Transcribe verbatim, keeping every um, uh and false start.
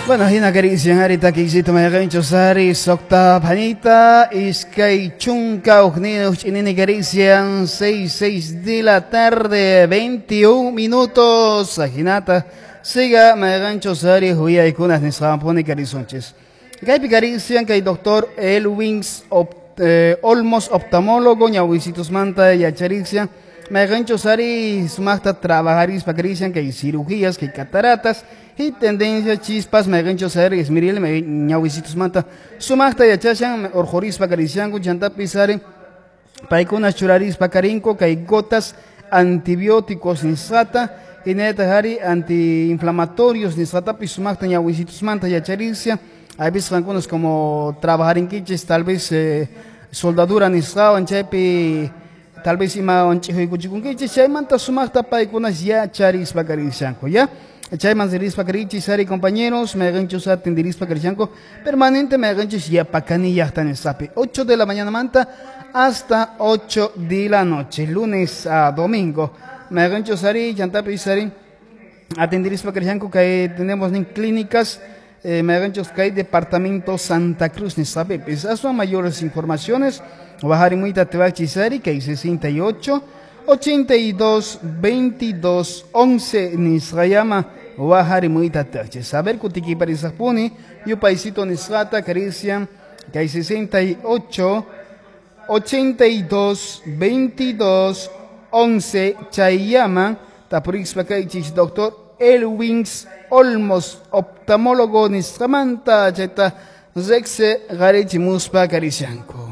Bueno, hina karisian ari takisito mayqinchus ari suqta phanita iskay chunka hukniyuq ch'inini karisian seis seis de la tarde veintiún minutos hinata siga mayqinchus ari huyaykunas nisqanpuni karisunchis. Kaypi karisian kay doctor Elwins op, eh, Olmos oftalmólogo ñawisitusmanta yacharisian mayqinchus ari sumaqta trabajarispa karisian kay cirugías kay cataratas y tendencia chispas mayqinchus ari esmiril ñawisitusmanta sumaqta yachashan urqurispa karisianku chantapis ari paykuna churarispa karinku kay gotas antibióticos nisqata hinallataq ari antiinflamatorios nisqatapis sumaqta ñawisitusmanta yacharisia. Hay veces algunos como trabajarinkichis tal vez eh, soldadura nisqawan chaypi tal vez ima wanch'ihuykuchikunkichis chaymanta sumaqta paykunas yacharispa karishanku ya. Chayman ririspa karichis ari compañeros mayqinchus atendirispa karishanku permanente mayqinchus yapakani llaqta nisqapi ocho de la mañana manta hasta ocho de la noche lunes a domingo mayqinchus ari chantapis ari atendirispa karishanku kay tenemos nin clínicas eh, mayqinchus kay departamento Santa Cruz nisqapipis aswan mayores informaciones waharimuyta tewachis ari kay sesenta y ocho ochenta y dos veintidós once nisqayama waharimuyta tewachis. A ver kutikiparisaqpuni yupaysito nisqata karisian kay sesenta y ocho ochenta y dos veintidós once chayama tapurispa kaychis doctor Elwins Olmos oftalmólogo nisqamanta chayta reqsi qarichimuspa karisianku.